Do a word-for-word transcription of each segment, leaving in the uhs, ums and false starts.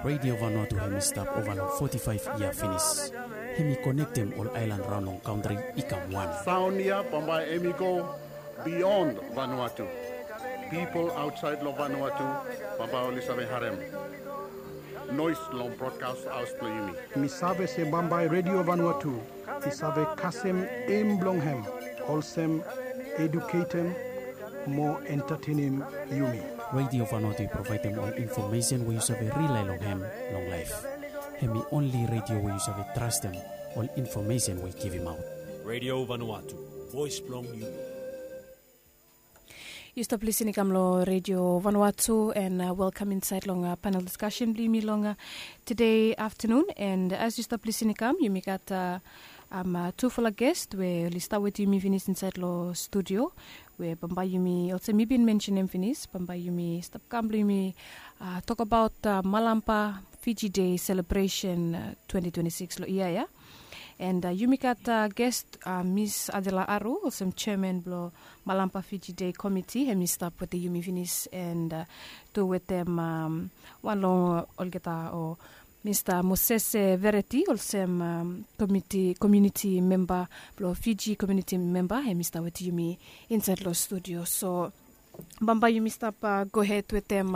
Radio Vanuatu hem i stap ova long foti faev yia finis. Hem i konektem ol aelan raon long kantri i kam wan. Saon ya bambae hem i go beyond Vanuatu. Pipol aotsaed long Vanuatu bambae oli save harem noes long brodkas haos blong yumi. Mi save se bambae Radio Vanuatu i save kasem em blong hem olsem eduketem mo entatenem yumi. Radio Vanuatu i provaedem ol infomesen we yu save rilae long hem long laef. Hem i onli radio we yu save trastem ol infomesen we i givimaot. Radio Vanuatu, voes blong yumi. Yu stap lisin i kam long Radio Vanuatu and welkam insaed long panel diskasen blong yumi long tede aftanun. And as yu stap lisin i kam, yumi gat tufala gest we oli stap wetem yumi finis insaed long studio, we bambae yumi, olsem mi bin mensenem finis, bambae yumi stap kam blong yumi tokbaot Malampa Fiji Dei selebresen twenti twenti sikis long yia ya. And yumi gat gest, Mis Adela Aru, olsem jeaman blong Malampa Fiji Dei Komiti, hem i stap wetem yumi finis, and tu wetem wan long olgeta, o Mista Mosese Vereti, olsem komuniti memba blong Fiji, komuniti memba hem i stap wetem yumi insaed long studio. So bambae yumi stap gohed wetem,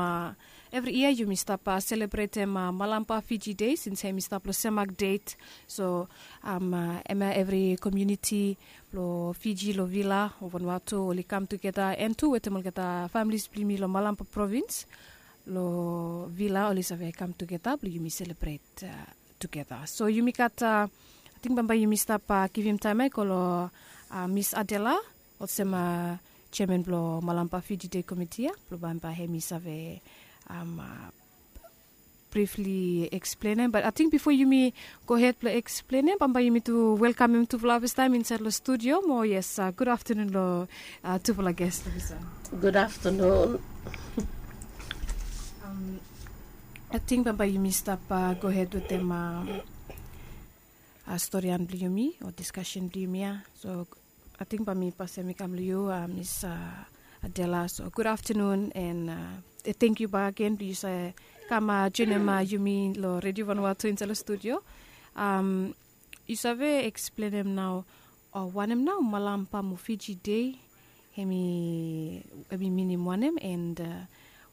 evri yia yumi stap selebretem Malampa Fiji Dei, sins hem i stap long semak det. So hem ya evri komuniti blong Fiji long vila o Vanuatu oli kam tugeta, and tu wetem olgeta familis blong yumi long Malampa provins long vila, oli save kam tugeta blong yumi selebret tugeta. So yumi gat, ating bambae yumi stap givim taem ya i go long Mis Adela, olsem jeaman blong Malampa Fiji Dei Komiti ya, blong bambae hem i save brifli eksplenem. Bat ating bifo yumi gohed blong eksplenem, bambae yumi tu welkamem tufala fastaem insaed long studio. Mo yes, gud aftanun long tufala gest long disa. Gud aftanun. Ating bambae yumi stap gohed wetem storian blong yumi o diskasen blong yumi ya. So ating bae mi pasem i kam long yu, Mis Adela. So gud aftanun, and tangkiu bakegen blong yu save kam joenem yumi long Radio Vanuatu insaed long studio. Yu save eksplenem nao wanem nao Malampa mo Fiji Dei hem i minim wanem, and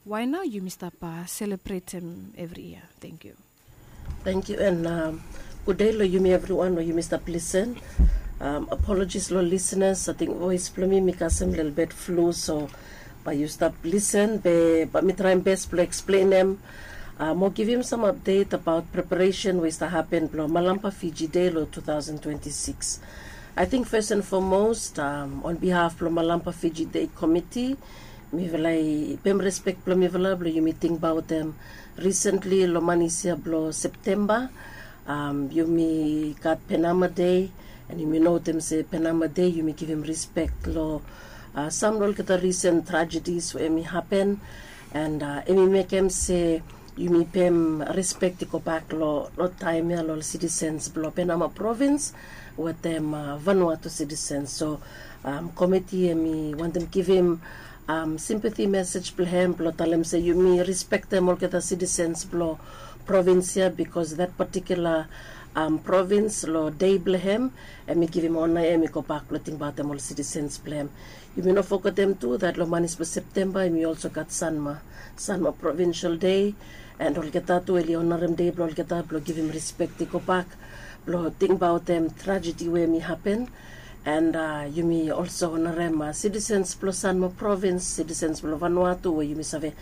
wae nao yumi stap selebretem evri yia? Tangkiu. Tangkiu, and gud dei long yumi evriwan we yumi stap lisin. Apolojis long lisinas, ating voes blong mi mi kasem lelebet flu, so bae yu stap lisin, be bae mi traem bes blong eksplenem mo givim sam apdet abaot preparesen we i stap hapen blong Malampa Fiji Dei long tu taosen twenti sikis. Ating fes and fomos, on bihaf blong Malampa Fiji Dei Komiti, mifala i pem respek blong mifala blong yumi tingbaotem risentli long manis ya blong Septemba, yumi gat Penama Dei, and yumi notem se Penama Dei yumi givim respek long sam long olgeta risen trajedis we hem i hapen, and hem i mekem se yumi pem respek i gobak long taem ya long ol sitisens blong Penama provins wetem Vanuatu sitisens. So komiti hem i wantem givim simpati mesej blong hem blong talem se yumi respektem olgeta sitisens blong provins ya, bikos that patikula provins long dei blong hem, hem i givim ona ya, hem i gobak blong tingbaotem ol sitisens blong hem. Yumi no fogetem tu that long manis blong Septemba yumi olso gat Sanma, Sanma Provinsel Dei, and olgeta tu oli onarem dei blong olgeta blong givim rispek i gobak blong tingbaotem trajedi we hem i hapen. And yumi olso onarem sitisens blong Sanma Provins, sitisens blong Vanuatu we yumi save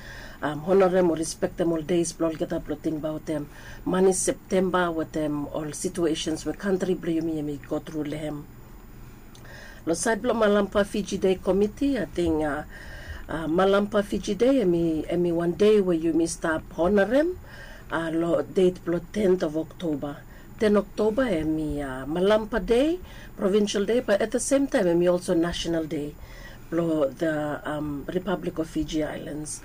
onarem o rispektem ol deis blong olgeta blong tingbaotem manis Septemba wetem ol situesens we kantri blong yumi hem i gotru long hem. Long saed blong Malampa Fiji Dei Komiti, ating Malampa Fiji Dei hem i wan dei we yumi stap onarem long det blong tenth of Oktoba. Ten Oktoba hem i Malampa Dei, Provinsel Dei, bat at the sem taem hem i olso Nasenal Dei blong the Ripablik of Fiji Aelans.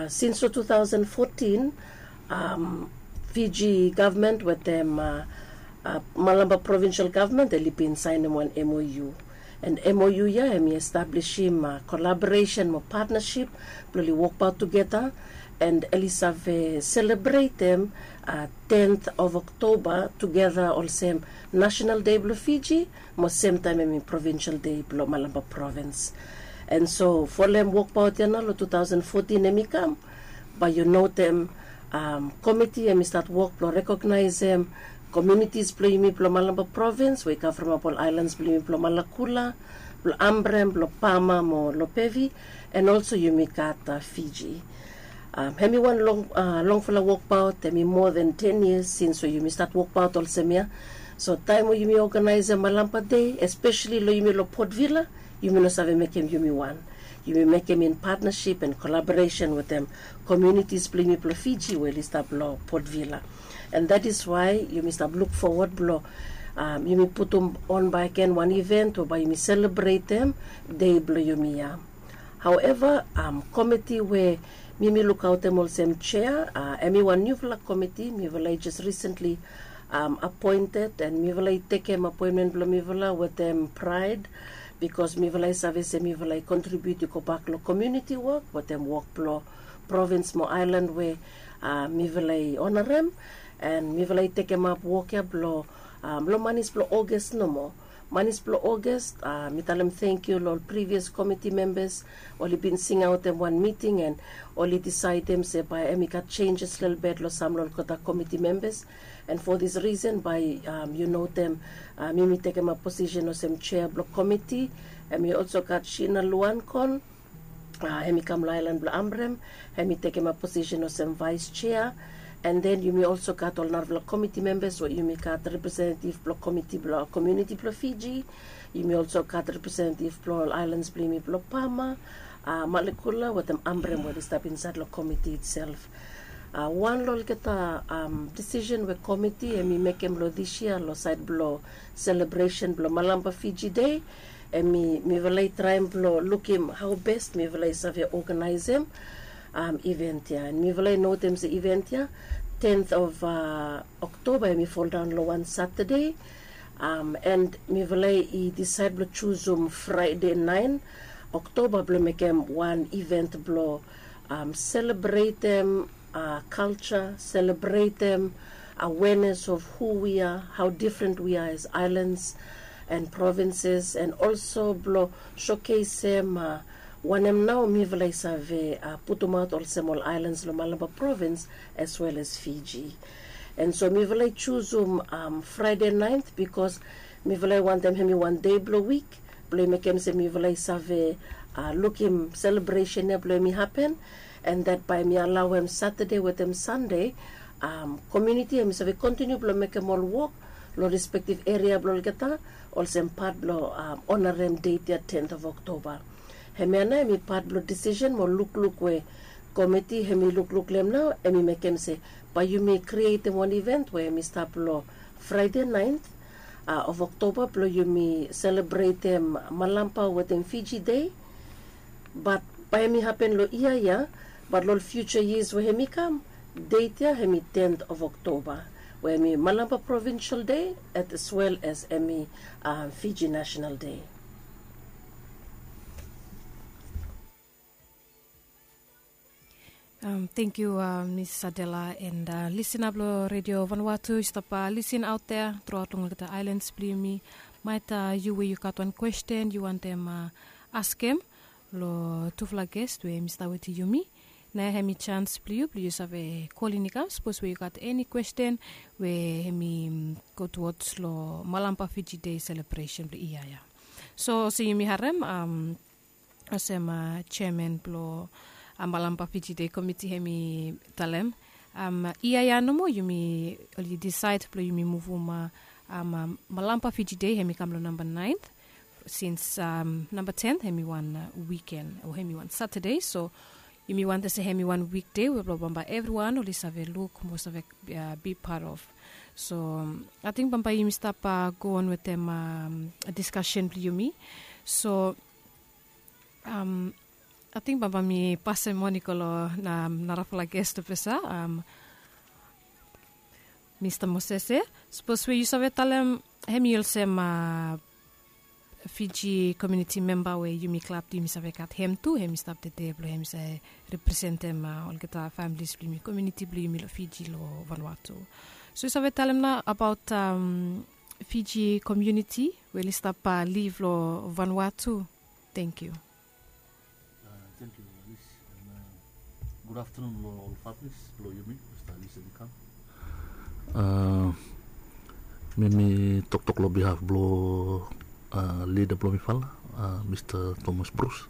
Sins long tu taosen fotin, Fiji gavmen wetem Malampa Provinsel Gavmen oli bin saenem wan M O U. And M O U ya hem i establisim kolaboresen mo patnasip blong oli wokbaot tugeta. And oli save selebretem tenth of Oktoba tugeta olsem National Day blong Fiji mo semtaem hemi Provincial Day blong Malampa Provins. And so folem wokbaot ia nao long two thousand fourteen hemi kam, bae yu notem komiti hemi stat wok blong rekognaesem komiunitis blong yumi blong Malampa Provins we i kavremap ol aelans blong yumi blong Malakula, blong Ambrem, blong Pama mo Lopevi, and olso yumi gat Fiji. Hemi wan longfala wokbaot, hemi moa than ten yias sins we yumi stat wokbaot olsem ia. So taem we yumi oganaesem Malampa Dei, espeseli long yumi long Port Vila, yumi no save mekem yumi wan. Yumi mekem in patnasip and kolaboresen wetem komiunitis blong yumi blong Fiji we oli stap long Port Vila. And that is why yumi stap luk fowod blong yumi putum on bakegen wan iven we bae yumi selebretem dei blong yumi ia. Haoeva, komiti we mi mi lukaotem olsem jea, hemi wan niufala komiti mifala i jes risentli apoented, and mifala i tekem apoenmen blong mifala wetem praed, bikos mifala i save se mifala i kontribiut i gobak long komiuniti wok wetem wok blong provins mo aelan we mifala i onarem. And mifala i tekemap wok ia blong long manis blong Oges nomo. Manis blong Oges, mi talem tangkiu long ol privias komiti membas. Oli bin singaotem wan miting and oli disaedem se bae hemi gat jenjes lelebet long sam long olgeta komiti membas. And fo dis risen bae yu notem mi mi tekemap posisen olsem jea blong komiti. Hemi olso gat Shina Luankon, hemi kam long aelan blong Ambrem, hemi tekemap posisen olsem vaes jea. And then yumi olso gat ol narafala komiti membas we yumi gat representetiv blong komiti blong komiuniti blong Fiji. Yumi olso gat representetiv blong ol aelans blong yumi blong Pama, Malekula wetem Ambrem we oli stap insaed long komiti itself. Wan long olgeta disisen we komiti hemi mekem long dis yia long saed blong selebresen blong Malampa Fiji Dei, hemi mifala i traem blong lukim hao bes mifala i save oganaesem iven ia. And mifala i notem se iven ia, tenth of Oktoba, hemi foldaon long wan Satade. And mifala i disaed blong jusum Fraede naen Oktoba blong mekem wan iven blong selebretem kalja, selebretem awenes of hu wi a, hao difren wi a as aelans and provinses, and olso blong sokesem wanem nao mifala i save putumaot olsem ol aelans long Malampa Provins as well as Fiji. And so mifala i jusum Fraede naenth bikos mifala i wantem hemi wan dei blong wik blong i mekem se mifala i save lukim selebresen ia blong hemi hapen. And that bae hemi alaoem Satade wetem Sande komiuniti hemi save kontiniu blong mekem ol wok long respektiv eria blong olgeta, olsem pat blong onarem deit ia tenth of Oktoba. Hemia nao hemi pat blong disisen mo lukluk we komiti hemi lukluk long hem nao, hemi mekem se bae yumi krietem wan iven we hemi stap long Fraede naenth of Oktoba blong yumi selebretem Malampa wetem Fiji Dei. Bat bae hemi hapen long yia ia, bat long ol fiuja yias we hemi kam, deit ia hemi tenth of Oktoba, we hemi Malampa Provincial Dei as well as hemi Fiji National Dei. Tangkiu, Mis Adela, and lisina blong Redio Vanuatu, yu stap lisin aot ya truaot long olgeta aelans blong yumi. Maet yu we yu gat wan kwesten yu wantem askem long tufala ges we hemi stap wetem yumi, nao ya hemi jans blong yu blong yu save kolin i kam sapos we yu gat eni kwesten we hemi go tuwods long Malampa Fiji Dei selebresen blong yia ya. So olsem yumi harem olsem jeaman blong Malampa Fiji Dei Komiti hemi talem, yia ya nomo yumi oli disaed blong yumi muvum Malampa Fiji Dei hemi kam long namba naenth, sins namba tenth hemi wan wiken o hemi wan Satade. So yumi wantem se hemi wan wikdei we blong bambae evriwan oli save luk mo save bi pat of. So ating bambae yumi stap go on wetem diskasen blong yumi. So ating bambae mi pasem moni go long narafala ges tu pesa. Mista Moses ya, sapos we yu save talem hemi olsem Fiji komuniti memba we yumi klap tu, yumi save gat hem tu, hem i stap tede blong hem i save representem olgeta familis blong yumi, komuniti blong yumi long Fiji, long Vanuatu. So yu save talem nao abaot Fiji komuniti we oli stap liv long Vanuatu? Thank you. Thank you, Alice. And good afternoon long ol familis blong yumi we stap lisin i kam. Mi mi toktok long bihaf blong lida blong mifala, Mista Thomas Bruce.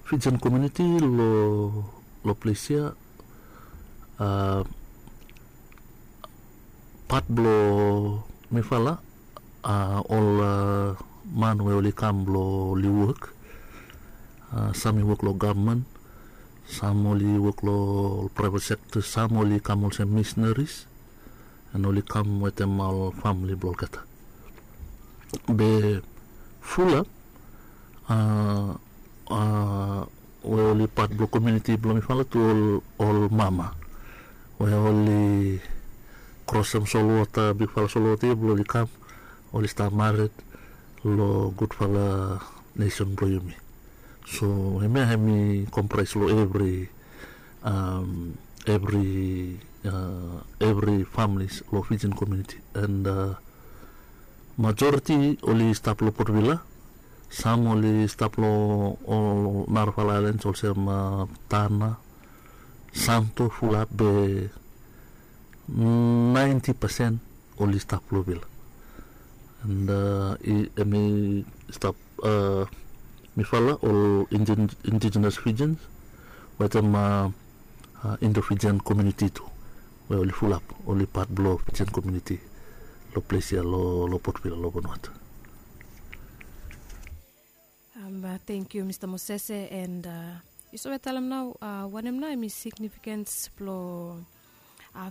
Fijian komuniti long ples ya, pat blong mifala, ol man we oli kam blong oli wok. Sam i wok long gavman, sam oli wok long ol praevet sekta, sam oli kam olsem misenaris, an oli kam wetem ol famili blong olgeta. Be fulap we oli pat blong komuniti blong mifala tu ol mama we oli krosem solwota, bigfala solwota ya blong oli kam, oli stap mared long gudfala nesen blong yumi. So hemia hem i kompraes long evri evri evri familis long Fijian komuniti. And majoriti oli stap long Port Vila, sam oli stap long ol narafala aelans olsem Tanna, Santo, fulap, be naenti pesen oli stap long Vila. And hem i stap mifala ol indigenous Fijians wetem Indo-Fijian komuniti tu, we oli fulap, oli pat blong Fijian komuniti long ples ya long Port Vila, long Vanuatu. Thank you, Mista Mosese. And yu save talem nao wanem nao hem i signifikens blong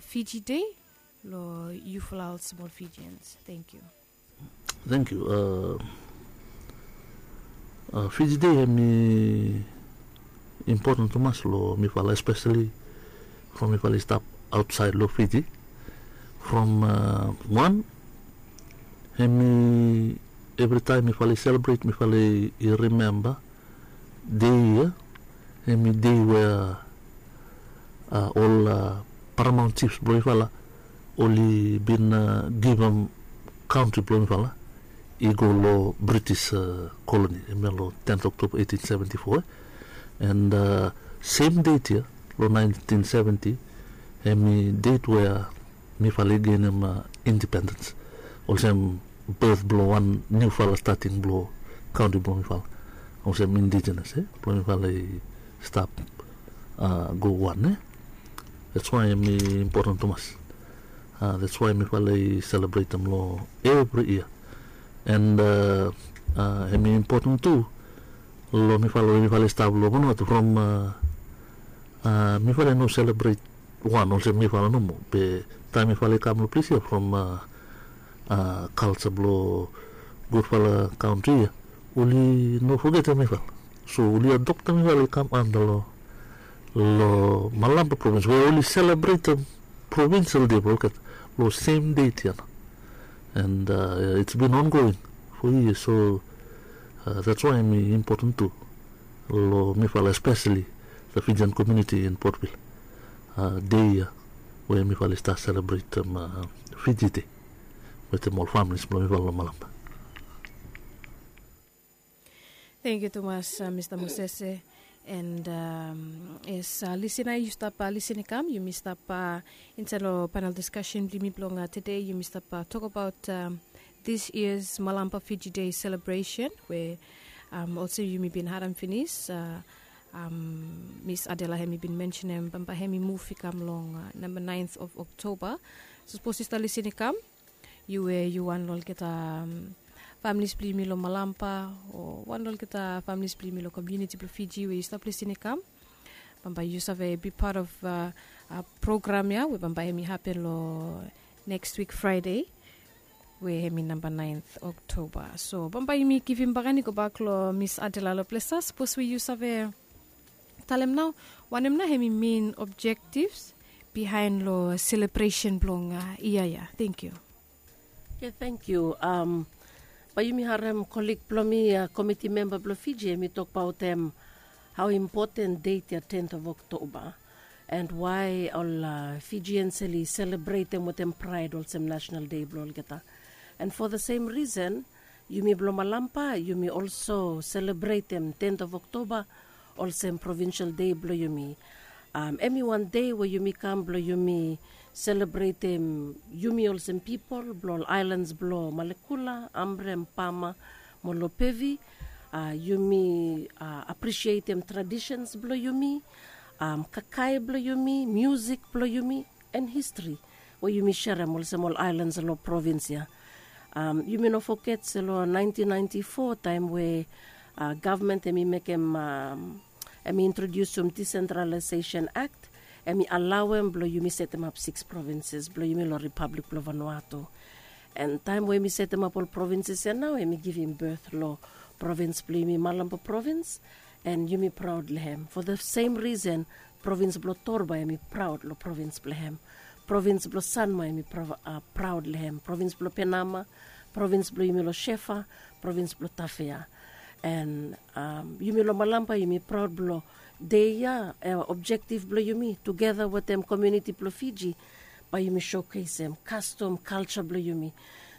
Fiji Day long yufala ol smol Fijians? Thank you. Thank you. Fiji Day hem i impoten tumas long mifala, espeseli from mifala i stap aotsaed long Fiji. From wan, hem i evritaem mifala i selebret, mifala i rimemba dei ya, hem i dei we ol paramaon jifs blong mifala oli bin givim kantri blong mifala i go long British koloni, hemia long tenth October eighteen seventy-four. And sem det ya, long nineteen seventy, hem i det we mifala i genim indipendens, olsem beth blong wan niufala stating blong kantri blong mifala, olsem indigenous blong mifala i stap go wan. That's why hem i impoten tumas. That's why mifala i selebretem long evri yia. And hem i impoten tu long mifala we mifala i stap long Vanuatu, from mifala i no selebret wan olsem mifala nomo, be taem mifala i kam long ples ya, from kalja blong gudfala kantri ya, oli no fogetem mifala. So oli adoptem mifala i kam anda long Malampa provins we oli selebretem provinsel dei blong olgeta long sem det ya nao. And it's been ongoing for years. So that's why hem i impoten tu long mifala, espeseli the Fijian community in Port Vila, dei ya we mifala i stap selebretem Fiji Day wetem ol familis blong mifala long Malampa. Thank you tumas, Mista Mosese. And yes, lisina, yu stap lisin i kam, yumi stap insaed long panel discussion blong yumi blong tede. Yumi stap tokbaot this year's Malampa Fiji Day celebration, we olsem yumi bin harem finis, Miss Adela hem i bin mensenem bambae hem i muv i kam long namba naenth of October. So sapos yu stap lisin i kam, yu we yu wan long olgeta familis blong yumi long Malampa, o wan long olgeta familis blong yumi long komuniti blong Fiji we yu stap lisin i kam, bambae yu save be part of program ya we bambae hem i hapen long next week Friday, we hem i namba naenth October. So bambae yumi givim bakegen i gobak long Miss Adela long ples ya, sapos we yu save talem nao wanem nao hem i mein objektivs bihaen long selebresen blong yia ya. Thank you. Okay, thank you. Um, bae yumi harem kolig blong mi, uh, komiti memba blong Fiji, em i tokbaot em hao impoten det ya, tenth of October, and why ol, uh, Fijians oli selebretem wetem praed olsem national day blong olgeta. And for the same reason, yumi blong Malampa, yumi also selebretem tenth of October olsem provincial day blong yumi. Um, em i wan dei we yumi kam blong yumi selebretem yumi olsem pipol blong ol aelans blong Malekula, Ambrem, Pama mo Lopevi. Uh, yumi, uh, aprisietem tradisens blong yumi, um, kakae blong yumi, musik blong yumi, and histri we yumi serem olsem ol aelans long provins ya. Um, yumi no foget se long nineteen ninety-four, taem we, uh, gavman em i mekem, um, em i introdiusum Decentralization Act, em i alaoem blong yumi setemap sikis provinses blong yumi long Ripablik blong Vanuatu. And taem we em i setemap ol provinses ya nao, em i givim bet long provins blong yumi, Malampa provins, and yumi praod long hem. For the same reason, provins blong Torba em i praod long provins blong hem. Provins blong Sanma em i prov-, uh, praod long hem. Provins blong Penama, provins blong yumi long Shefa, provins blong Tafea. And, um, yumi long Malampa, yumi praod blong dei ya, uh, objektif blong yumi tugeta wetem komuniti blong Fiji, bae yumi showcasem kastom, kalja blong yumi.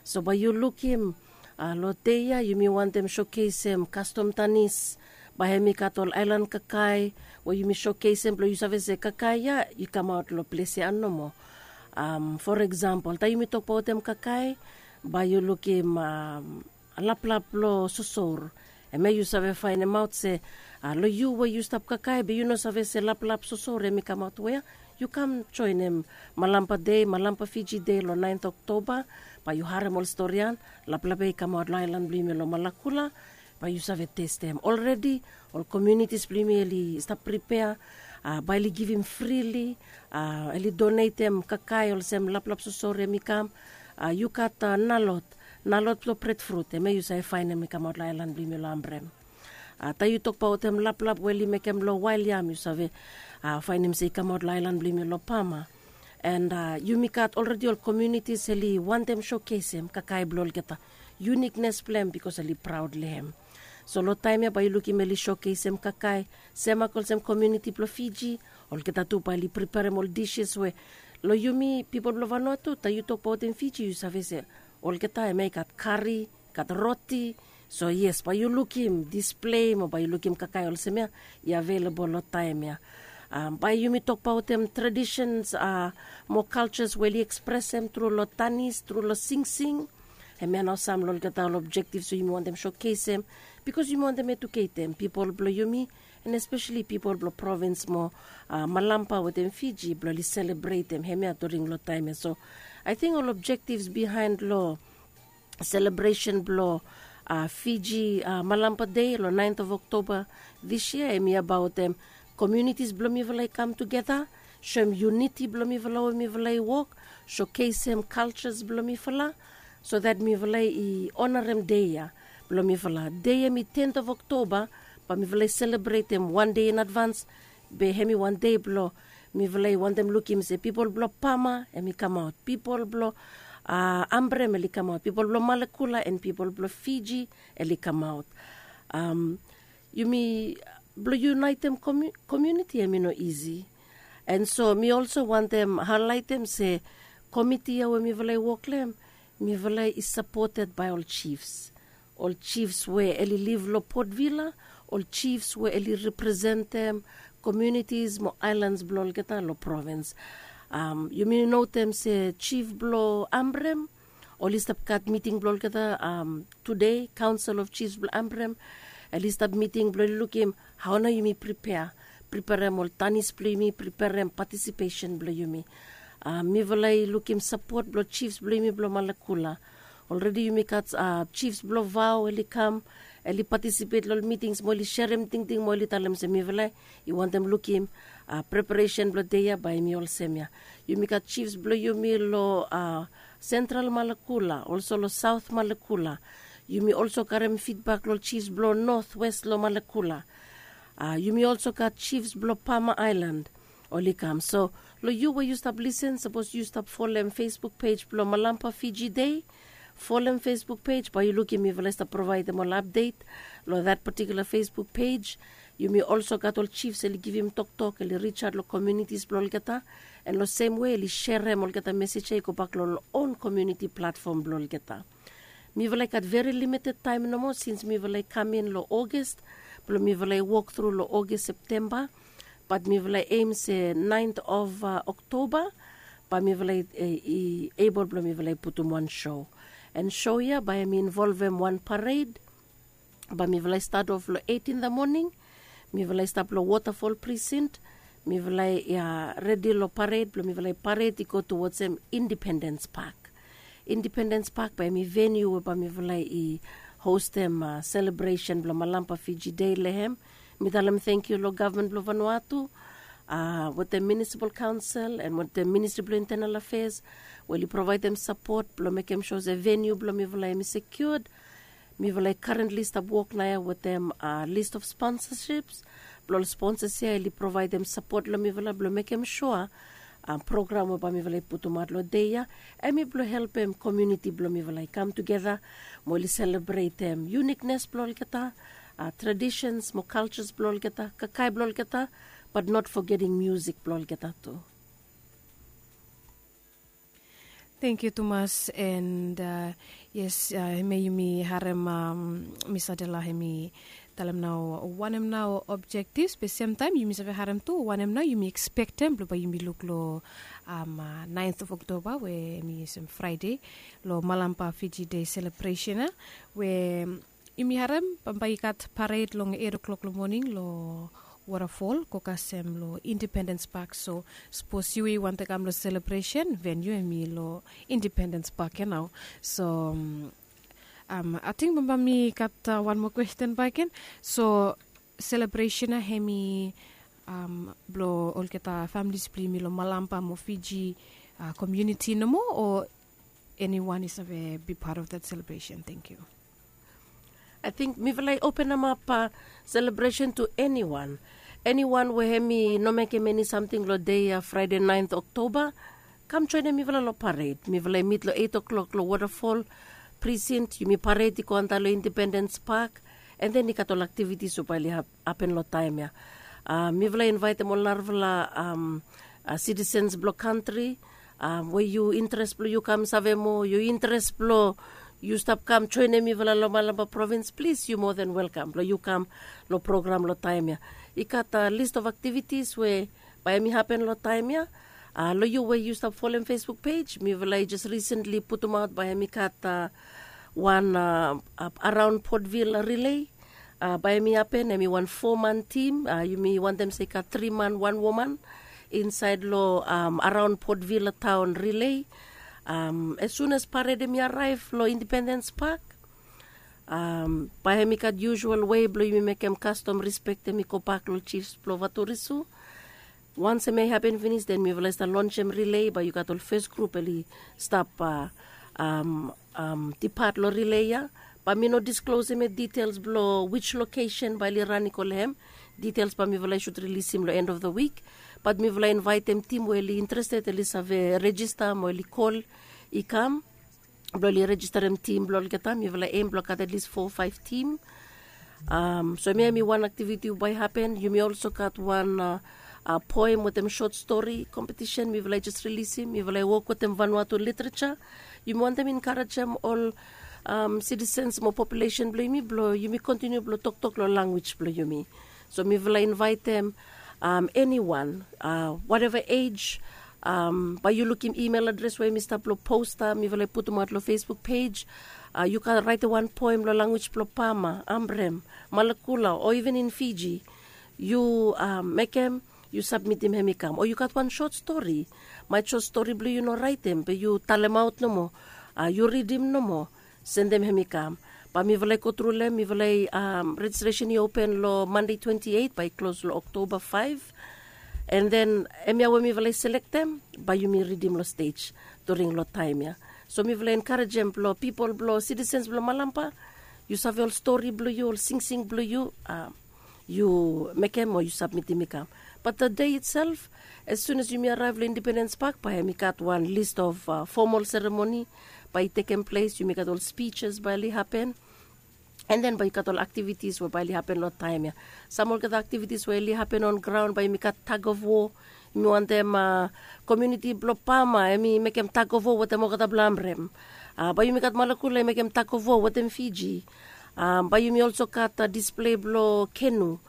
So bae yu lukim, uh, long dei ya yumi wantem showcasem kastom tanis, bae hem i gat ol aelan kakae we yumi showcasem blong yu save se kakae ya i kamaot long ples ya nomo. Um, for example, taem yumi tokbaotem kakae, bae yu lukim, um, laplap blong sosour. Hemia yu save faenemaot se, uh, long yu we yu stap kakae be yu no save se laplap sosour hem i kamaot wea, yu kam joenem Malampa Dei, Malampa Fiji Dei long naenth Oktoba, bae yu harem ol storian, laplap ya i kamaot long aelan blong yumi long Malakula, bae yu save testem. Olredi ol komunitis blong yumi oli stap pripea, uh, bae oli givim frili, uh, oli donetem kakae olsem laplap sosour hem i kam, uh, yu gat, uh, nalot, nalot blong bredfrut, hemia yu save faenem i kamaot long aelan blong yumi long Ambrem. Uh, taem yu tokbaotem laplap we oli mekem long wael yam, yu save, uh, faenem se i kamaot long aelan blong yumi long Pama. And, uh, yumi gat olredi ol komunitis oli wantem showcasem kakae blong olgeta, uniqueness blong hem, bikos oli praod long hem. So long taem ya bae yu lukim oli showcasem kakae semak olsem komuniti blong Fiji, olgeta tu bae oli preparem ol dishes we long yumi pipol blong Vanuatu, taem yu tokbaotem Fiji yu save se olgeta hemia i gat kari, gat roti. So yes, bae yu lukim displei mo bae yu lukim kakae olsem ya i avelabol long taem ya. Um, bae yumi tokbaotem tradisens, uh, mo kaljas we oli ekspresem tru long tanis, tru long singsing. Hemia nao sam long olgeta ol objektif we yumi wantem showcasem, bikos yumi wantem eduketem pipol blong yumi, and especially pipol blong provins mo, uh, Malampa wetem Fiji blong oli selebretem hemia during long taem ya. So I think ol objektifs bihaen long selebresen blong, uh, Fiji, uh, Malampa Dei long naenth of Oktoba dis yia, hemi abaotem komunitis blong mifala i kam tugeta, soem yuniti blong mifala we mifala i wok, showcasem kaljas blong mifala, so that mifala i onarem dei ya blong mifala. Dei ya hemi tenth of Oktoba, bae mifala i selebretem wan dei in advans, be hemi wan dei blong mifala i wantem lukim se pipol blong Pama hemi kamaot, pipol blong, uh, Ambrem oli kamaot, pipol blong Malekula and pipol blong Fiji oli kamaot. Um, yumi, blong yunaetem komu-, komuniti hemi no isi. And so mi olso wantem haelaetem se komiti ya we mifala i wok long hem, mifala i sapoted bae ol jifs. Ol jifs we oli liv long Port Vila, ol jifs we oli representem komunitis mo aelans blong olgeta long provins. Um, yumi notem se jif blong Ambrem oli stap gat miting blong olgeta, um, tudei, Council of Chiefs blong Ambrem oli stap miting blong oli lukim hao nao yumi pripea, priperem ol tanis blong yumi, priperem patisipesen blong yumi. Uh, mifala i lukim sapot blong jifs blong yumi blong Malekula. Olredi yumi gat, uh, jifs blong Vao, oli kam, oli patisipet long ol mitings mo oli serem tingting mo oli talem se mifala i wantem lukim, uh, preparesen blong dei ya bae hemi olsem ya. Yumi gat jifs blong yumi long, uh, Sentral Malekula, olso long Saot Malekula. Yumi olso karem fidbak long jifs blong Not, Wes long Malekula. Uh, yumi olso gat jifs blong Pama Aelan oli kam. So long yu we yu stap lisen, sapos yu stap folem Facebook pej blong Malampa Fiji Dei, Folem Facebook pej, bae yu lukim mifala i stap provaedem ol apdet long that particular Facebook pej. Yumi olso gat ol jifs oli givim toktok, oli rijaot long komiunitis blong olgeta, and long sem we oli serem olgeta mesej ya i gobak long ol own komiuniti platfom blong olgeta. Mifala i gat veri limited taem nomo sins mifala i kam in long Ogos, blong mifala i wok tru long Ogos, Septemba. Bat mifala i em se naent of Oktoba, bae mifala i ebol blong mifala i putum wan sho. And sho ya bae hem i involvem wan pared. Bae mifala i stat of long eit in the moning. Mifala i stap long Wotafol Prisint. Mifala i redi long pared blong mifala i pared i go tuwods hem Indipendens Pak. Indipendens Pak bae hem i veniu we bae mifala i hostem selebresen blong Malampa Fiji Dei long hem. Mi talem tangkiu long gavman blong Vanuatu, wetem munisipal kaonsel and wetem ministri blong intenal afeas, we oli provaedem sapot blong mekem sua se veniu blong mifala hem i sekiuad. Mifala i karentli stap wok naoia wetem list of sponsorships blong ol sponsors ya oli provaedem sapot long mifala blong mekem sua program we bae mifala i putumaot long dei ya, hem i blong helpem komiuniti blong mifala i kam tugeta mo oli selebretem yuniknes blong olgeta, tradisens mo kaljas blong olgeta, kakae blong olgeta, bat not fogeting musik blong olgeta tu. Tangkiu tumas. And yes, hemia yumi harem, Miss Adela hemi talem nao wanem nao objektivs, be semtaem yumi save harem tu wanem nao yumi ekspektem blong bae yumi luk long naenth of Oktoba we hemi sem Fraede, long Malampa Fiji Dei selebresen ya, we yumi harem bambae i gat pared long eit o'klok long moning long Wotafol go kasem long Indipendens Pak. So sapos yu i wantem kam long selebresen, veniu hemi long Indipendens Pak ya nao. So ating bambae mi gat wan moa kwesten bakegen. So selebresen ya hemi blong olgeta familis blong yumi long Malampa mo Fiji komiuniti nomo, o eniwan i save be pat of that selebresen? Tangkiu. Ating mifala i openemap selebresen tu eniwan. Eniwan we hemi no mekem eni samting long dei ya, Fraede naenth Oktoba, kam joenem mifala long pared. Mifala i mit long eit o'klok long Wotafol Prisint, yumi pared i go antap long Indipendens Pak, and then i gat ol aktivitis we bae oli hapen long taem ya. Mifala i invaetem ol narafala sitisens blong kantri we yu interes blong yu kam save moa, yu interes blong yu stap kam joenem mifala long Malampa provins, plis yu moa den welkam blong yu kam long program long taem ya. I gat list of aktivitis we bae hemi hapen long taem ya. Long yu we yu stap folem Facebook pej, mifala i jes risentli putumaot bae hemi gat wan Araon Potvil rilei. Bae hemi hapen, hemi wan foman tim. Yumi wantem se i gat tri man, wan woman insaed long Araon Potvil taon rilei. As soon as pared hemi araev long Indipendens Pak, bae hemi gat usual wei blong yumi mekem kastom rispek, hemi gobak long jifs blong Vaturesu. Wans hemia i hapen finis, den mifala i stap lonsem rilei, bae yu gat ol fes grup oli stap dipat long rilei ya. Bae mi no disklosem yet ditels blong wij lokesen bae oli ran i go long hem. Ditels bae mifala i sud rilisim long end of the wik. Bat mifala i invaetem tim we oli interested oli save rejista mo oli kol i kam blong oli rejisterem tim blong olgeta. Mifala em blong gat atlis fo faef tim. So hemia hemi wan aktiviti we bae i hapen. Yumi olso gat wan poem wetem sot stori kompetisen mifala i jes rilisim. Mifala i wok wetem Vanuatu Literature. Yumi wantem enkarejem ol sitisens mo populesen blong yumi blong yumi kontiniu blong toktok long lanwis blong yumi. So mifala i invaetem eniwan, wateva ej, bae yu lukim imel adres we hemi stap long posta mifala i putumaot long Facebook pej. Yu gat raetem wan poem long lanwis blong Pama, Amrem, Malakula, o iven in Fiji. Yu mekem, yu sabmitim hem i kam. O yu gat wan sot stori, maet sot stori blong yu no raetem be yu talemaot nomo, yu ridim nomo, sendem hem i kam. Bae mifala i gotru long hem. Mifala i, rejistresen i open long Mande twenti eit, bae i klos long Oktoba faef. And then hemia we mifala i selektem, bae yumi ridim long stej during long taem ya. So mifala i enkarejem blong pipol blong sitisens blong Malampa, yu save ol stori blong yu, ol singsing blong yu, yu mekem o yu sabmitim i kam. Bat the day itself, as soon as yumi araev long Indipendens Pak, bae hemi gat wan list of fomal seremoni bae i tekem ples, yumi gat ol speeches bae oli hapen. And then bae i gat ol aktivitis we bae oli hapen long taem ya. Sam olgeta aktivitis we oli hapen on graon, bae yumi gat tug of war. Yumi wantem komiuniti blong Pama hemi mekem tug of war wetem olgeta blong Amrem. Bae yumi gat Malakula i mekem tug of war wetem Fiji. Bae yumi olso gat displei blong kenu,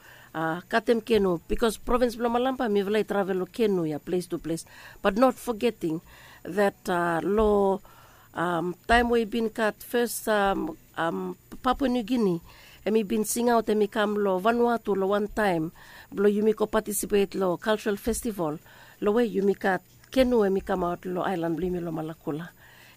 katem kenu, bikos provins blong Malampa mifala i travel long kenu ya ples tu ples. Bat not fogeting that long taem we i bin gat fes Papua New Guinea, hemi bin singaot hemi kam long Vanuatu long wantaem blong yumi go patisipet long kalsral festival, long we yumi gat kenu hemi kamaot long aelan blong yumi long Malakula.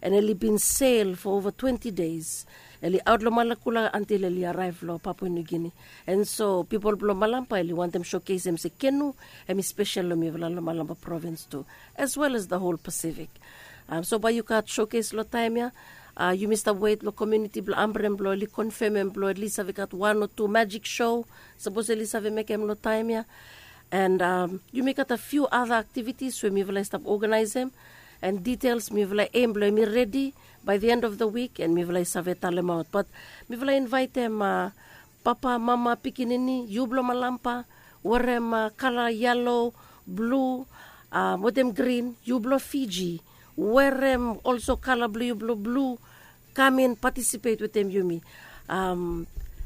And oli bin sel fo ova twenti deis. Oli aot long Malakula antil oli araev long Papua New Guinea. And so pipol blong Malampa oli wantem sokesim se kenu hemi spesel long mifala long Malampa provins tu, as well as the whole Pacific. So bae yu gat showcase long taem ya. Yumi stap wet long komiuniti blong Amrem blong oli konfemem blong oli save gat wan o tu magic show, sapos oli save mekem long taem ya. And yumi gat a few other activities we mifala i stap organizem. And details mifala i aim blong hemi redi by the end of the week, and mifala i save talemaot. Bat mifala i invaetem papa, mama, pikinini, yu blong Malampa, werem kala yalo, blu, wetem grin. Yu blong Fiji, werem olso kala blong yu blong blu. Kam in patisipet wetem yumi.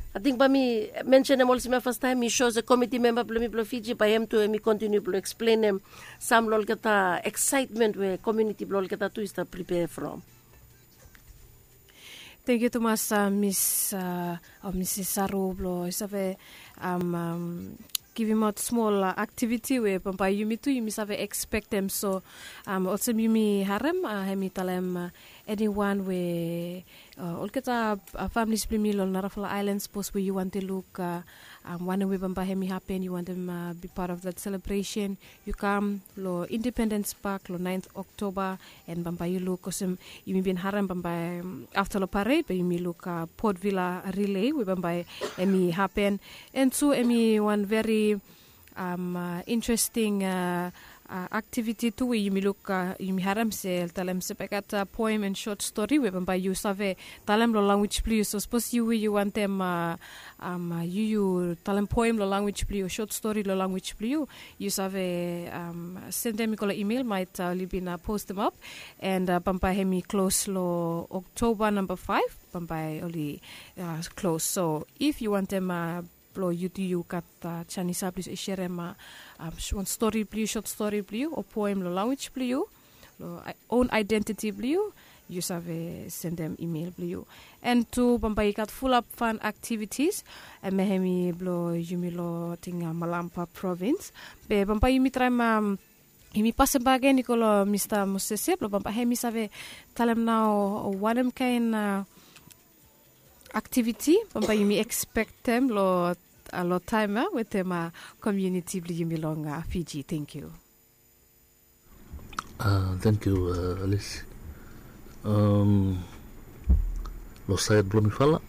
Ating bae mi mensenem olsem ya fastaem, mi so se komiti memba blong mi blong Fiji, bae hem tu hemi kontiniu blong eksplenem sam long olgeta eksaetmen we komiuniti blong olgeta tu i stap pripea from. Tangkiu tumas, Miss, Misis Saru, blong yu save givimaot smol aktiviti we bambae yumi tu yumi save ekspektem. So olsem yumi harem, hemi talem eniwan we olgeta familis blong yumi long narafala aelan, sapos we yu wantem luk wanem we bambae hemi hapen, yu wantem bipat of that selebresen, yu kam long Independens Pak long naenth Oktoba. And bambae yu luk olsem yumi bin harem bambae afta long pared bae yumi luk Port Vila Relay we bambae hemi hapen. And tu hemi wan veri interesting aktiviti tu we yumi luk, yumi harem se talem se bae gat poem and short stori we bambae yu save talem long lanwis blong yu. So sapos yu we yu wantem yu yu talem poem long lanwis blong yu o short stori long lanwis blong yu, yu save sendem i go long email, maet oli bin postem ap. And bambae hemi klos long Oktoba namba faef, bambae oli klos. So if yu wantem blong yu tu yu gat janis ya blong yu serem wan stori blong yu, short stori blong yu o poem long lanwis blong yu, long own aedentiti blong yu, yu save sendem email blong yu. And tu bambae i gat fulap fan aktivitis, hemia hemi blong yumi long ting Malampa provins. Be bambae yumi traem yumi pasem bakegen i go long Mista Mosese blong bambae hemi save talem nao wanem kaen aktiviti bambae yumi ekspektem long taem ya wetem komiuniti blong yumi long Fiji. Tangkiu. Tangkiu, Alis. Long saed blong mifala,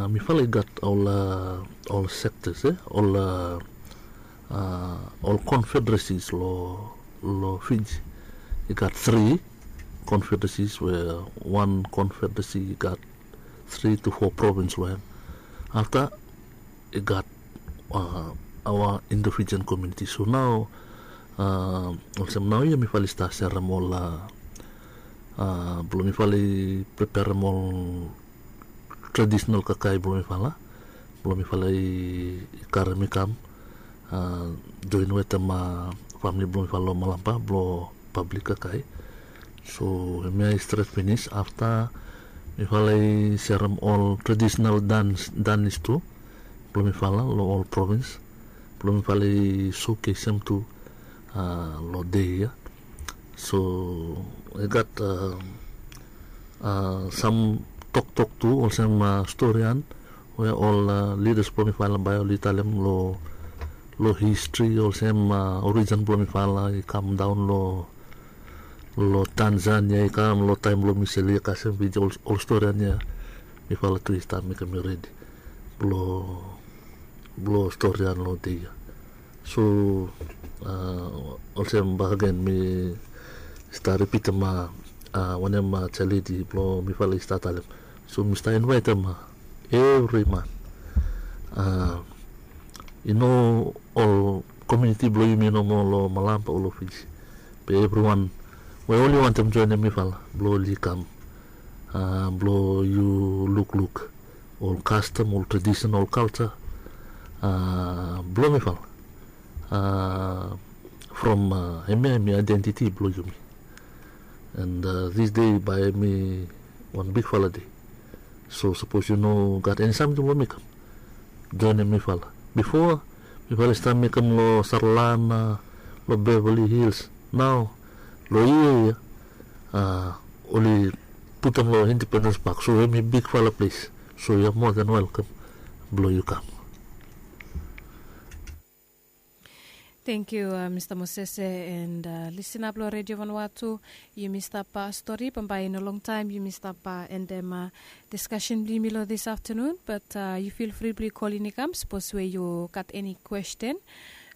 mifala i gat ol sektas, e ol ol konfederasis long Fiji. I gat tri konfederasis we wan konfederasi i gat tri tu fo provins long hem. Afta i gat aoa indivijual komiuniti. So nao olsem nao ya mifala i stap serem ol blong mifala i preperem ol tradisonal kakae blong mifala, blong mifala i karem i kam joen wetem famili blong mifala long Malampa blong pablik kakae. So hemia i stret finis. Afta mifala i serem ol tradisonal dans danis tu blong mifala long ol provins blong mifala i sokesem tu long dei ya. So i gat sam toktok tu olsem storian we ol lidas blong mifala bae oli talem long long histri olsem orijen blong mifala i kam daon long long Tanzania i kam long taem blong mi seli kasem Fiji, ol storian ya mifala tu i stap mekem i redi blong blong storian long dei ya. So olsem bakegen mi Stap ripitim wanem chaledi blong mifala i stap talem. So mi stap invaetem evri man. I no ol komuniti blong yumi nomo long Malampa o long Fiji, be evriwan we oli wantem joenem mifala blong oli kam blong yu lukluk ol kastom, ol tradisen, ol kalja blong mifala. From hemia hemi aedentiti blong yumi. And this day bae hemi wan bigfala dei. So sapos yu no gat eni samting blong mekem, joenem mifala. Bifo mifala i stap mekem long Sarlana, long Beverly Hills, nao long hia ya oli putum long Independence Park. So hemi bigfala ples. So yu are more than welcome blong yu kam. Thank you, Mr Mosese, and listener blong Radio Vanuatu. Yumi stap stori bambae i no longtaem yumi stap endem discussion blong yumi long this afternoon, but yu feel free blong yu kolin i kam sapos we yu gat eni question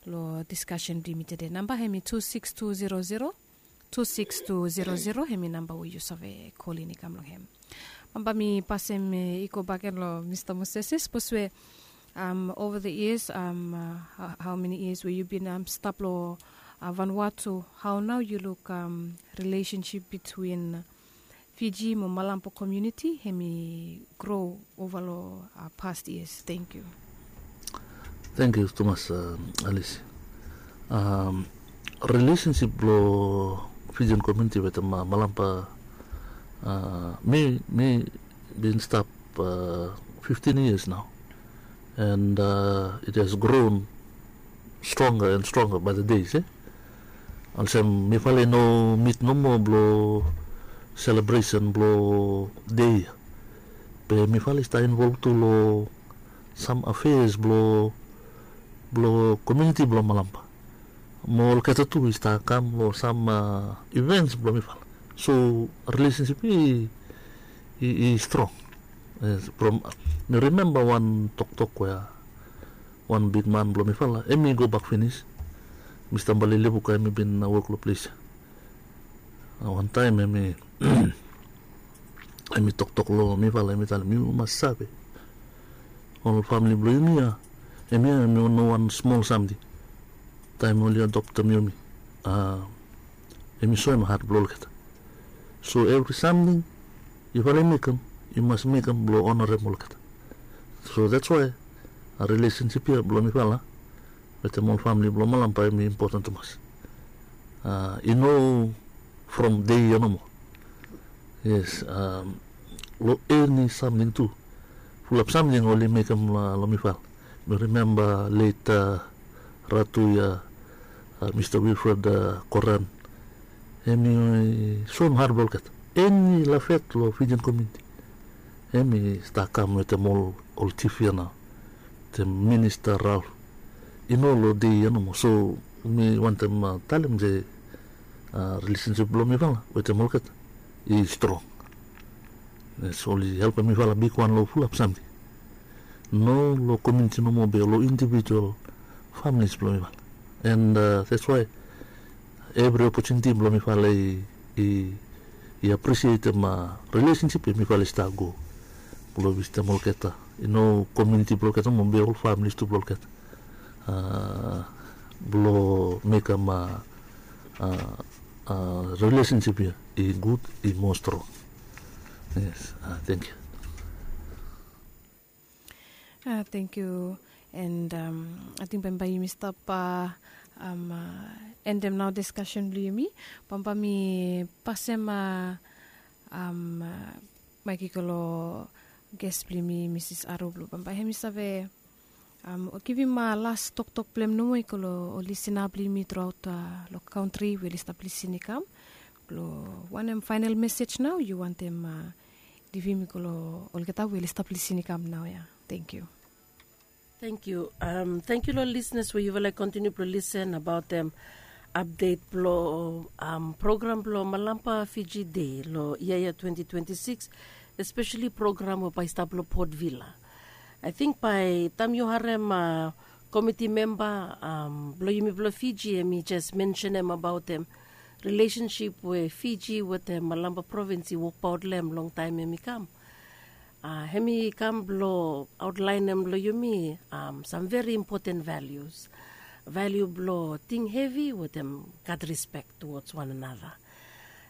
long discussion blong yumi tede. Namba hemi two six two zero zero two six two zero zero hemi namba we yu save kolin i kam long hem. Bambae mi pasem i go baken long Mr Mosese, sapos we over the years, how many years we yu bin stap long Vanuatu, hao nao yu luk relationship between Fiji mo Malampa komuniti hemi grow ova long past years? Thank you. Thank you tumas, Alice. Relationship blong Fijian komuniti wetem Malampa, mi mi bin stap fifteen years nao, and it has grown stronger and stronger by the days. Olsem mifala i no mit nomo blong selebresen blong dei ya, be mifala i stap involv tu long sam afeas blong blong komuniti blong Malampa. Mo olgeta tu i stap kam long sam ivens blong mifala. So rilesensip ya i strong. Mi rimemba wan toktok we wan bigman blong mifala em i gobak finis, Mista Balelevuka, em i bin wok long ples ya. Wantaem em i em i toktok long mifala, em i talem, yu mas save, ol famili blong yumi ya, em ya em i no wan smol samting. Taem oli adoptem yumi, em i soem hat blong olgeta. So evri samting yufala i mekem, yu mas mekem blong onarem olgeta. So that's why rilesensip ya blong mifala wetem ol famili blong Malampa em i impoten tumas. I no from dei ya nomo. Yes, long eni samting tu, fulap samting oli mekem long mifala. Mi rimemba leta Ratu ya, Mista Wilfred Koran, em i soem hat blong olgeta. Eni lafet long Fijian komuniti em i stap kam wetem ol jif ya nao, wetem Minista Ralph. I no long dei ya nomo. So mi wantem talem se rilesensip blong mifala wetem olgeta i strong. Yes, oli helpem mifala bigwan long fulap samting. No long komuniti nomo be long indivijual familis blong mifala. And that's why evri opotuniti blong mifala i i apresietem rilesensip ya mifala i stap go blong visitem olgeta. I no komuniti blong olgeta nomo be ol familis tu blong olgeta, blong mekem rilesensip ya i gud, i moa strong. Yes, thank you. Thank you. And ating bambae yumi stap endem nao diskasen blong yumi. Bambae mi pasem maik i go long ges blong yumi, Misis Arublu. Bambae hem i save givim las toktok blong hem nomo i go long ol lisina blong yumi truaot long kantri we oli stap lisin i kam, long wanem faenal mesej nao yu wantem givim i go long olgeta we oli stap lisin i kam naoia? Thank you. Thank you. Thank you long lisenas we yufala i kontiniu blong lisen abaotem apdet blong program blong Malampa Fiji Dei long yia ya twenty twenty six, espeseli program we bae i stap long Port Vila. Ating bae taem yu harem komiti memba blong yumi blong Fiji, hem i jes mensenem abaotem rilesensip we Fiji wetem Malampa provins i wokbaot long em longtaem hem i kam. Hem i kam blong aotlaenem long yumi sam veri impoten valius. Valiu blong ting hevi wetem gat rispek tuods wan anata.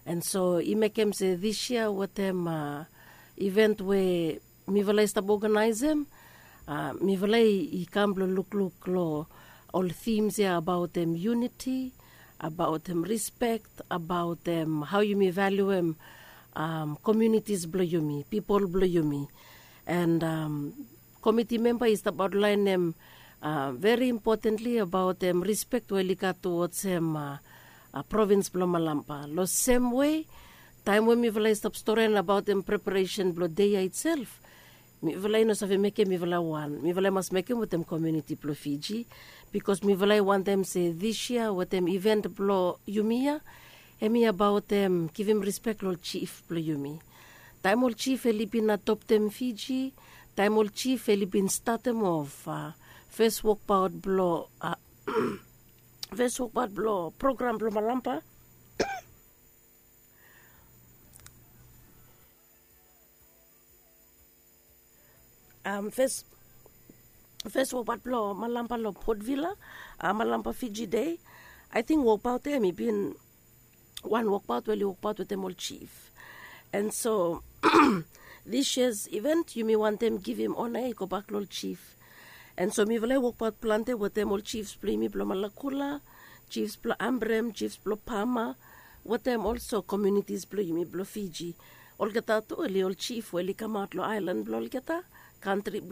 And so i mekem se this year wetem event we mifala i stap oganaesem, mifala i kam blong lukluk long ol themes ya abaotem uniti, abaotem rispek, abaotem hao yumi valiuem komunitis blong yumi, pipol blong yumi. And komiti memba i stap aotlaenem veri impotentli abaotem rispek we oli gat tuodsem provins blong Malampa long semwe taem we mifala i stap storian abaotem preparesen blong dei ya itself. Mifala i no save mekem mifala wan, mifala i mas mekem wetem komiuniti blong Fiji. Bikos mifala i wantem se this year wetem event blong yumi ya, hem i abaotem givim rispek long ol jif blong yumi. Taem ol jif oli bin adoptem Fiji, taem ol jif oli bin statem of fes wokbaot blong fes wokbaot blong program blong Malampa. Fes wokbaot blong Malampa long Port Vila, Malampa Fiji Dei. Ating wokbaot ya hem i bin wan wokbaot we oli wokbaot wetem ol jif. And so this year's event yumi wantem givim ona ya i gobak long ol jif. And so mifala i wokbaot plante wetem ol jifs blong yumi blong Malakula, jifs blong Ambrem, jifs blong Pama, wetem olso komiunitis blong yumi blong Fiji. Olgeta tu oli ol jif we oli kamaot long aelan blong olgeta, kantri blong